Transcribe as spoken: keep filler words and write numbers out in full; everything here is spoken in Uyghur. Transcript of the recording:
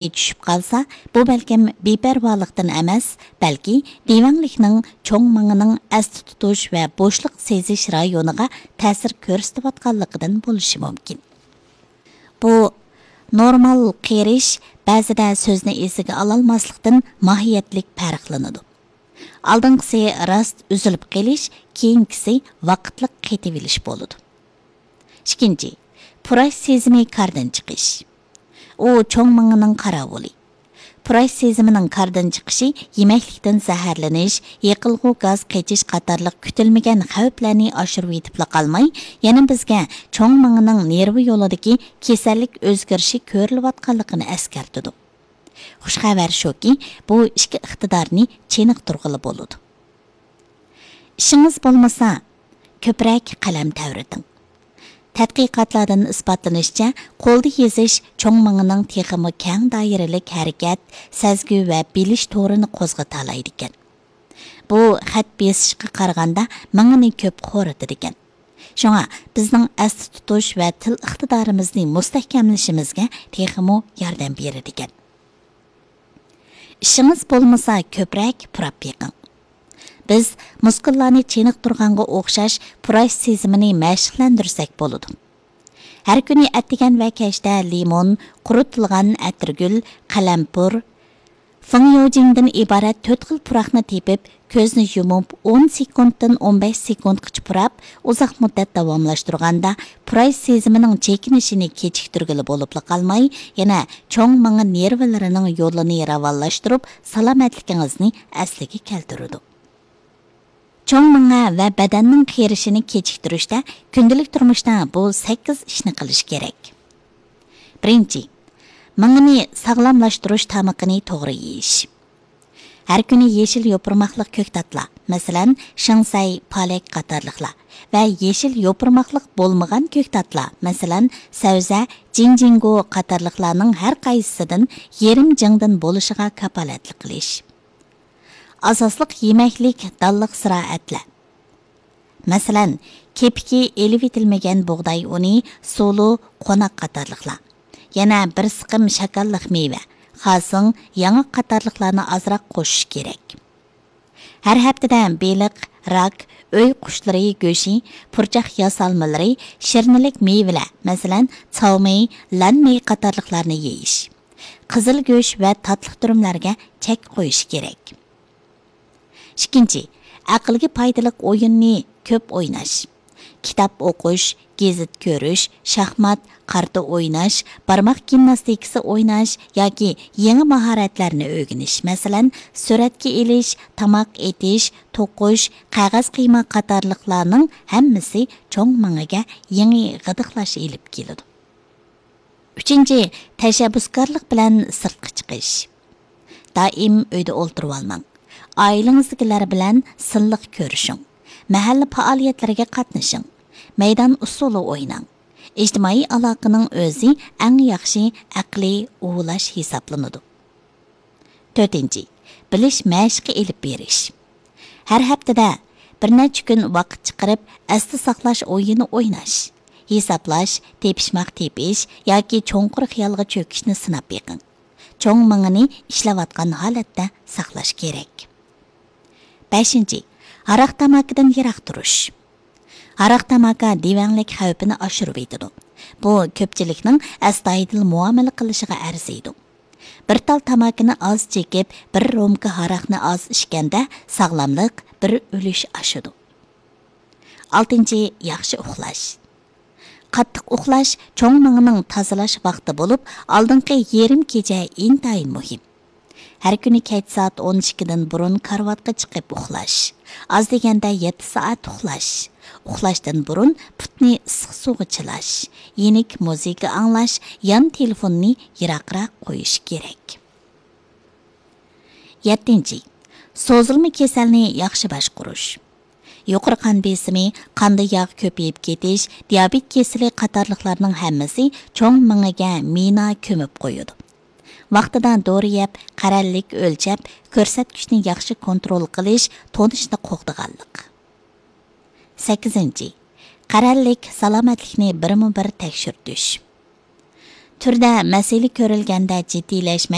چۈشۈپ قالسا، بۇ بەلكىم بىپەرۋالىقتىن ئەمەس، بەلكى دىۋەڭلىكنىڭ چوڭ مېڭىنىڭ ئەستە تۇتۇش ۋە بوشلۇق سېزىش رايونىغا تەسىر كۆرسىتىۋاتقانلىقىدىن بولۇشى مۇمكىن. بۇ نورمال قېرىش بەزىدە سۆزنى ئېسىگە ئالالماسلىقتىن ماھىيەتلىك پەرقلىنىدۇ. ئالدىنقىسى راست ئۈزۈلۈپ قېلىش، كېيىنكىسى ۋاقىتلىق قېتىۋېلىش بولىدۇ. ئىككىنچى، پۇراش سېزىمى كاردىن چىقىش. ئۇ چوڭ مېڭىنىڭ قاراۋۇلى. پۇراش سېزىمىنىڭ كاردىن چىقىشى يېمەكلىكتىن زەھەرلىنىش، يېقىلغۇ گاز قېچىش قاتارلىق كۈتۈلمىگەن خەۋپلەرنى ئاشۇرۇۋېتىپلا قالماي، يەنە بىزگە چوڭ مېڭىنىڭ نېرۋا يولىدىكى كېسەللىك ئۆزگىرىشى كۆرۈلۈۋاتقانلىقىنى ئەسكەرتىدۇ. خۇش خەۋەر شۇكى، بۇ ئىككى ئىقتىدارنى چېنىقتۇرغىلى بولىدۇ. ئىشىڭىز بولمىسا، كۆپرەك قەلەم تەۋرىتىڭ. تەتقىقاتلاردىن ئىسپاتلىنىشىچە، قولدا يېزىش چوڭ مېڭىنىڭ تېخىمۇ كەڭ دائىرىلىك ھەرىكەت، سەزگۈ ۋە بىلىش تورىنى قوزغىتالايدىكەن. بۇ خەت بېسىشقا قارىغاندا مېڭىنى كۆپ خورىتىدىكەن. شۇڭا بىزنىڭ ئەستە تۇتۇش ۋە تىل ئىقتىدارىمىزنى مۇستەھكەملىشىمىزگە تېخىمۇ ياردەم بېرىدىكەن. ئىشىڭىز بولمىسا، كۆپرەك پۇراپ بېقىڭ. بىز مۇسكۇللارنى چېنىقتۇرغانغا ئوخشاش پۇراش سېزىمىنى مەشىقلەندۈرسەك بولىدۇ. ھەر كۈنى ئەتىگەن ۋە كەچتە لىمون، قۇرۇتۇلغان ئەتىرگۈل، قەلەمپۇر، فېڭيوجىڭدىن ئىبارەت تۆت خىل پۇراقنى تېپىپ، كۆزنى يۇمۇپ ئون سېكۇنتتىن ئون بەش سېكۇنتقىچە پۇراپ، ئۇزاق مۇددەت داۋاملاشتۇرغاندا، پۇراش سېزىمىنىڭ چېكىنىشىنى كېچىكتۈرگىلى بولۇپلا قالماي، يەنە چوڭ مېڭە نېرۋىلىرىنىڭ يولىنى راۋانلاشتۇرۇپ، سالامەتلىكىڭىزنى ئەسلىگە كەلتۈرىدۇ. چوڭ مېڭە ۋە بەدەننىڭ قېرىشىنى كېچىكتۈرۈشتە كۈندىلىك تۇرمۇشتا بۇ سەككىز ئىشنى قىلىش كېرەك. بىرىنچى، مېڭىنى ساغلاملاشتۇرۇش تامىقىنى توغرا يېيىش. ھەر كۈنى يېشىل يوپۇرماقلىق كۆكتاتلار، مەسىلەن، شېڭسەي، پالەك قاتارلىقلار ۋە يېشىل يوپۇرماقلىق بولمىغان كۆكتاتلار، مەسىلەن، سەۋزە، جىنجىڭگو قاتارلىقلارنىڭ ھەر قايسىسىدىن يېرىم جىڭدىن بولۇشىغا كاپالەتلىك قىلىش. ئاساسلىق يېمەكلىك دانلىق زىرائەتلەر. مەسىلەن، كېپىكى ئېلىۋېتىلمىگەن بۇغداي ئۇنى، سۇلۇ، قوناق قاتارلىقلار. يەنە بىر سىقىم شاكاللىق مېۋە، خاسىڭ، ياڭاق قاتارلىقلارنى ئازراق قوشۇش كېرەك. ھەر ھەپتىدە بېلىق، راك، ئۆي قۇشلىرى گۆشى، پۇرچاق ياسالمىلىرى، شىرنىلىك مېۋىلەر، مەسىلەن، چاۋمېي، لەنمېي قاتارلىقلارنى يېيىش. قىزىل گۆش ۋە تاتلىق تۈرۈملەرگە چەك قويۇش كېرەك. ئىككىنچى، ئەقىلگە پايدىلىق ئويۇننى كۆپ ئويناش. كىتاب ئوقۇش، گېزىت كۆرۈش، شاھمات، قارتا ئويناش، بارماق گىمناستىكىسى ئويناش ياكى يېڭى ماھارەتلەرنى ئۆگىنىش، مەسىلەن، سۈرەتكە ئېلىش، تاماق ئېتىش، توقۇش، قەغەز قىيما قاتارلىقلارنىڭ ھەممىسى چوڭ مېڭىگە يېڭى غىدىقلاش ئېلىپ كېلىدۇ. ئۈچىنچى، تەشەببۇسكارلىق بىلەن سىرتقا چىقىش. دائىم ئۆيدە ئولتۇرۇۋالماڭ. ئائىلىڭىزدىكىلەر بىلەن سىنلىق كۆرۈشۈڭ. مەھەللە پائالىيەتلىرىگە قاتنىشىڭ. مەيدان ئۇسسۇلى ئويناڭ. ئىجتىمائىي ئالاقىنىڭ ئۆزى ئەڭ ياخشى ئەقلىي ئۇۋۇلاش ھېسابلىنىدۇ. تۆتىنچى، بىلىش مەشىقى ئېلىپ بېرىش. ھەر ھەپتىدە بىر نەچچە كۈن ۋاقىت چىقىرىپ، ئەستە ساقلاش ئويۇنى ئويناش، ھېسابلاش، تېپىشماق تېپىش ياكى چوڭقۇر خىيالغا چۆكۈشنى سىناپ بېقىڭ. چوڭ مېڭىنى ئىشلەۋاتقان ھالەتتە ساقلاش كېرەك. بەشىنچى، ھاراق تاماكىدىن يىراق تۇرۇش. ھاراق تاماكا دىۋەڭلىك خەۋپىنى ئاشۇرۇۋېتىدۇ. بۇ كۆپچىلىكنىڭ ئەستايىدىل مۇئامىلە قىلىشىغا ئەرزىيدۇ. بىر تال تاماكىنى ئاز چېكىپ، بىر رومكا ھاراقنى ئاز ئىچكەندە، ساغلاملىق بىر ئۈلۈش ئاشىدۇ. ئالتىنچى، ياخشى ئۇخلاش. قاتتىق ئۇخلاش چوڭ مېڭىنىڭ تازىلاش ۋاقتى بولۇپ، ئالدىنقى يېرىم كېچە ئىنتايىن مۇھىم. ھەر كۈنى كەچ سائەت ئون ئىككىدىن بۇرۇن كارىۋاتقا چىقىپ ئۇخلاش. ئاز دېگەندە يەتتە سائەت ئۇخلاش. ئۇخلاشتىن بۇرۇن پۇتنى ئىسسىق سۇغا چىلاش، يېنىك مۇزىكا ئاڭلاش، يان تېلېفوننى يىراقراق قويۇش كېرەك. يەتتىنچى، سوزۇلما كېسەلنى ياخشى باشقۇرۇش. يۇقىرى قان بېسىمى، قاندا ياغ كۆپىيىپ كېتىش، دىيابېت كېسىلى قاتارلىقلارنىڭ ھەممىسى چوڭ مېڭىگە مىنا كۆمۈپ قويىدۇ. ۋاقتىدا دورا يەپ، قەرەللىك ئۆلچەپ، كۆرسەتكۈچنى ياخشى كونترول قىلىش، تونۇشنى قوغدىغانلىق. سەككىزىنچى، قەرەللىك سالامەتلىكنى بىرمۇ بىر تەكشۈرتۈش. تۈردە مەسىلە كۆرۈلگەندە جىددىيلەشمەي،